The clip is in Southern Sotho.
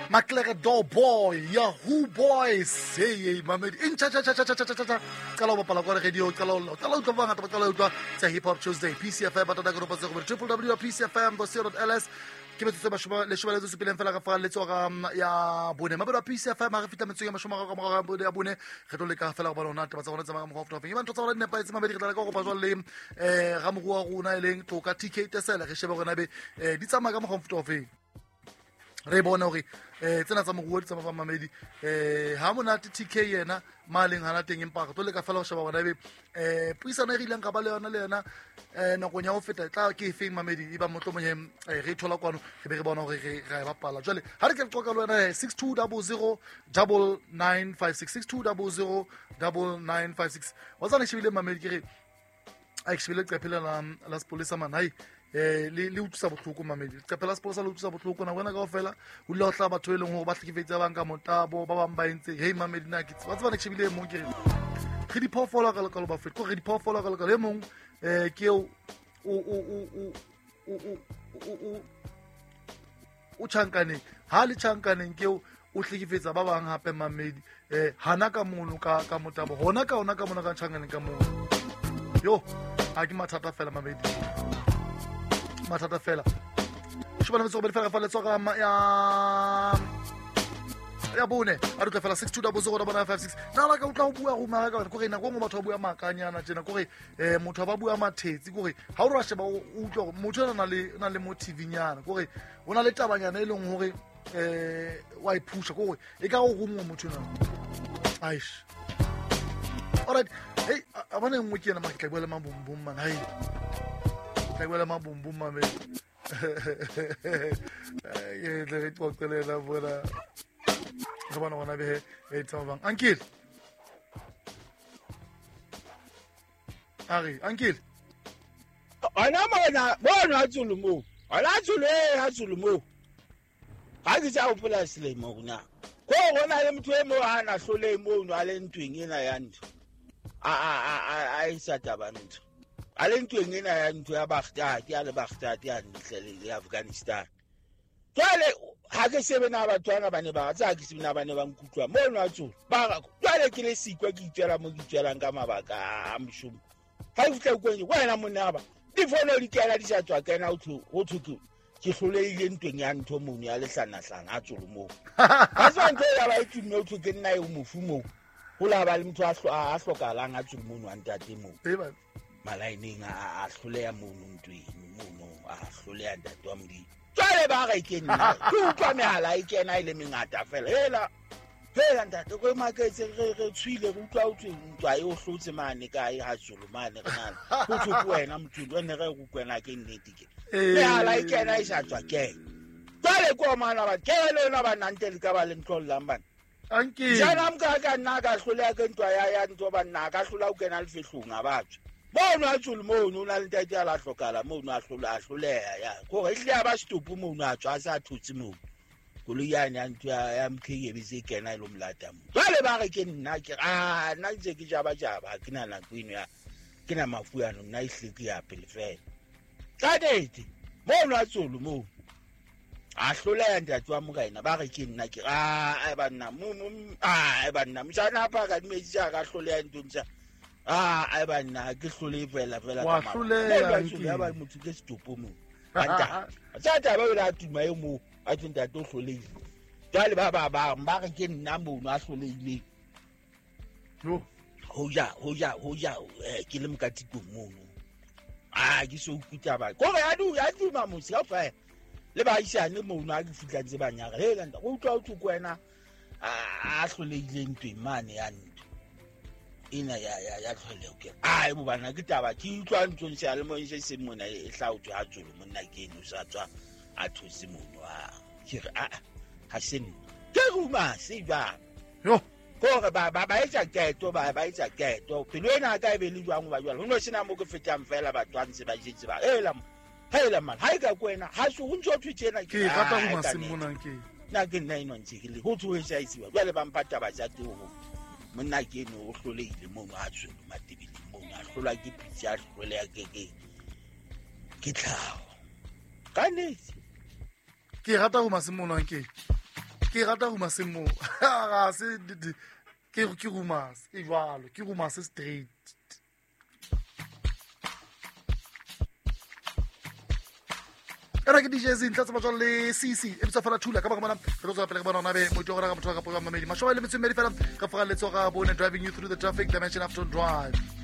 Maklere Door Boy, Yahoo Boys. Hey, hey, mamedi. In cha cha cha cha cha cha cha cha. Qala ho bapala kwa radio, qala ho qala utlwa ba bangata ba qala utlwa tsa Hip Hop Tuesday. PCFM ba tata ka tse go www.pcfm.co.ls. Ke metsotso e mashome leshome le metso e supileng fela ka fa letsoga ya bone. Mabelo a PCFM ha re fihla metsotsong ya mashome a ka morao ga ya bone, re tlo leka fela go bona hore na taba tsa rona tsamaya ka mokgwa o feta ofeng. Eba ntho tsa rona di nepahetse mamedi, re tla leka go kopa jwale le ramoruo wa rona e leng Toka TK Tesele, re shebe hore na ebe di tsamaya ka mokgwa o mofuta ofeng. Re bone hore tsena tsa moruo di tsamaya ba mamedi. Ha monate TK yena ma leng hana teng, empa re tlo leka fela ho sheba hore ebe puisano e re ileng ka ba le yona le yena nakong ya ho feta e tla ke efeng mamedi, e ba mohlomong re e thola kwano, re be re bona hore re ra e bapala. Jwale ha re ke re qoqa le wena 6200 9956, 6200 9956. Wa tsana shebile mamedi, ke re a ke shebile leqephe lena la sepolesa man, hai le utlwisa bohloko mamedi. Leqephe la sepolesa le utlwisa bohloko nako ena kaofela, ho dula ho hlaha batho e leng hore ba hlekefetse ba bang ka motabo, ba bang ba entse. Hei mamedi, na ke wa tseba ne ke shebile e mong, ke re re diphoofolo ka lekalo ba feta, ko re diphoofolo ka lekalo e mong ke eo o tjhankaneng, ha le tjhankaneng ke eo o hlekefetsa ba bang hape mamedi hana ka mono ka motabo, hona ka ona ka mona ka tjhankaneng ka mono. Yo, ha ke mathata fela mamedi, mathata fela. Shobana metso robedi fela fa letsoga ya bone, a re tla fela 6200 9956. Na la ka utlwa ho bua ruma ka gore nako nngwe batho ba bua makanyana tjena, kore motho ba bua mathetsi, kore ha o re wa sheba o utlwa hore motho ena na le motive-nyana, kore o na le tabanyana e leng hore wa e phusha, kore e ka o rungwa motho ena. Aish. Alright, hey, a bona e nngwe ke ena, mara ke tla bua le mabumbum man, hai. Ke tla bua le mabumbum man. Ke tle re qoqe le yena bona. Re bona gona behe e tsamaya bang. Ankile. A re, Ankile. Ona mona, bona tsolo moo. Ona tsolo e ha tsolo moo. Ha ke sa hopola selemo rona. Ko rona le motho e mo a na hlole mono a le ntweng ena ya ntho. A e sa taba ntho. A le ntweng ena ya ntho ya Baghdad, ya le Baghdad ya ntle le Afghanistan. Jwale ha ke shebe na batho bana ba ne ba tsa ke shebe na ba ne ba nkutlwa mono a tsolo. Ba jwale ke le sikwa ke itswela mo ke itswelang ka mabaka a moshomo. Ha ke fihla kweng wena monna ba difono di kena di sa tswa kena ho thwe ke hlolehile ntweng ya ntho mono ya lehlanahlana a tsolo moo. Ha se ntho ya ba e tumme ho thwe ke nna eo mofu moo. Ho la ba le motho a hlokahalang a tsolo mono a ntate moo. Malaeneng a hloleha mono ntweng mono, a hloleha ntate wa Modimo. Jwale ba re ke nna, ke utlwa mehala e kena e le mengata fela. Hela, hela ntate, re maketse, re tshwile, re utlwa ho thwe ntwa e o hlotse mane kae ha tsolo mane re nana. Ho thwe ke wena motho, re ne re re utlwena ke nnete ke. Mehala e kena e sa tswa kena. Jwale ke o mana ba, ke le lona ba nante le ka ba le ntlollang bana. Anke. Jana mka ka nna ka hloleha ke ntwa ya ntwa ba nna ka hlola ho kena lefehlong a batho. Mono a tsolo mono, o na le ntate a la hlokahala mono, a hlola, a hloleha ya. Kore ehlile a ba setopo mono, a tswa a sa thotse mono. Koloi yane ya ntho ya MK e be se kena e lo molata moo. Jwale ba re ke nna, ke re, nna ntse ke jaba jaba, ha ke na nako eno ya, ke na mafu ano, nna ehlile ke ya pele fela. Ka nnete, mono a tsolo moo. A hloleha ntate wa morena, ba re ke nna, ke re, ai banna, mo, mo, ai banna, mojana a phaka dimetsi tsa ka hloleha nthong tsa. Ai banna, ke hlole fela, fela Wa ka mabaka. hloleha, Moo ba Nki. tsolo, ya ba motho ke setopo moo. Ba ntate. Tsa taba eo la tuma e moo, a thwe ntate o hlolehile. Jwale ba ba bang ba re ke nna mono a hlolehileng. Yo. Hoja, hoja, hoja, ke le mokatikong mono. Ke so utlwe taba. Kore ya ya tuma motse kaofela. Le baahisane mono ha ke fihla ntse ba nyara. Hela ntate, o utlwa ho thwe ke wena a hlolehileng ntweng mane ya ntho. Ena ya tlholeho ke re, ai, bo bana, ke taba, ke utlwa nthong seyalemoyeng se seng mona e hlaotswe ha tsolo, monna ke eno o sa tswa a thotse mono, a, ke re, a, ha se nna. Ke ruma se jwang? Yo. Kore ba etsa qeto, ba etsa qeto. Pelo ena ka e be le jwang hoba jwale ho no sena mo ke fetang fela batho ba ntse ba jetse ba, hela mo, hela man, ha e ka ke wena, ha se ho ntso thwe tjena ke Ke rata Ah, ruma ka se nnete. mona ke. Nna ke nna eno ntse ke le, ho thwe ho sa itsiwa. Jwale ba mpha taba tsa teng ho. Monna ke eno o hlolehile mono a tswele Matebeleng mono, a hlolwa ke pitsi, a hloleha ke tlhaho. Ka nnete. Ke rata ho masimo monang ke. Ke rata rumaseng moo. Ga se ke rumase e jwalo, ke rumase straight. Ena ke DJ Zinhle tsa batswang le CC e bitsa fela thula ka baka mona re tlo tswela pele re bona ona be moitho gore ga motho wa ka po mamedi mashome le metso e mmedi fela ka foga letsoga bone, driving you through the traffic, Dimension Afton Drive.